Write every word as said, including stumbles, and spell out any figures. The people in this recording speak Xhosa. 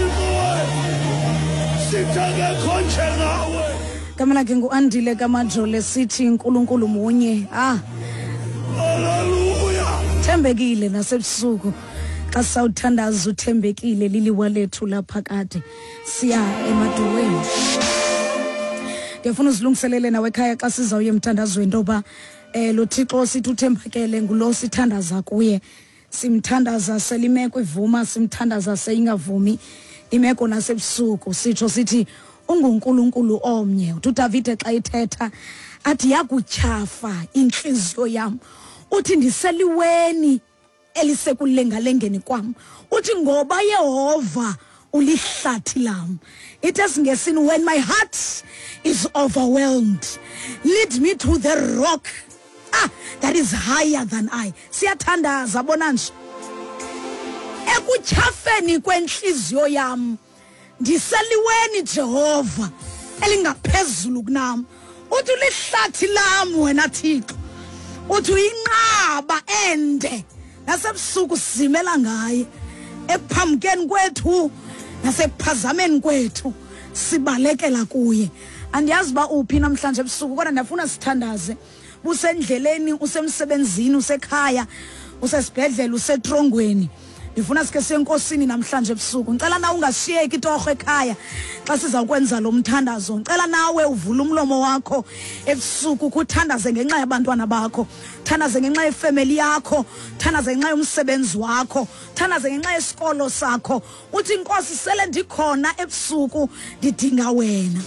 Thixo wethu, sithi akekho njengawe. Gama lakhe nguAndile kaMajole, sithi uNkulunkulu munye. Ah, haleluya. Thembekile nasebusuku xa sawuthandaza, uthembekile, liliwa lethu laphakade. Siya emaduweni. Ndiyafuna uzilungiselele nawe ekhaya xa sizawuya emthandazweni, into yoba um lo Thixo sithi uthembakele ngulo sithandaza kuye. Simthandaza selimeko ivuma, simthandaza seyingavumi imeko, nasebusuku sitsho sithi unguNkulunkulu omnye. Uthi uDavide xa ethetha athi, "Yakutyhafa intliziyo yam," uthi, "ndiseliweni elisekulengalengeni kwam," uthi, "ngoba Yehova ulihlathi lam." Ithi esiNgesini, "When my heart is overwhelmed, lead me to the rock, ah, that is higher than I." Siyathandaza bona nje, ekutyhafeni kwentliziyo yam ndiseliweni, Jehova, elingaphezulu kunam. Uthi ulihlathi lam wena Thixo, uthi uyinqaba ende, nasebusuku sizimela ngaye. Ekuphambukeni kwethu nasekuphazameni kwethu sibalekela kuye. Andiyazi uba uphi namhlanje ebusuku, kodwa ndiyafuna sithandaze. Busendleleni, usemsebenzini, usekhaya, usesibhedlele, usetrongweni, ndifuna sike siye enkosini namhlanje ebusuku. Ndicela nawe ungashiyeki torho ekhaya xa sizawukwenza lo mthandazo. Ndicela nawe uvule umlomo wakho ebusuku, kuthandaze ngenxa yabantwana bakho, thandaze ngenxa yefemeli yakho, thandaze ngenxa yomsebenzi wakho, thandaze ngenxa yesikolo sakho. Uthi, "Nkosi, sele ndikhona ebusuku, ndidinga wena."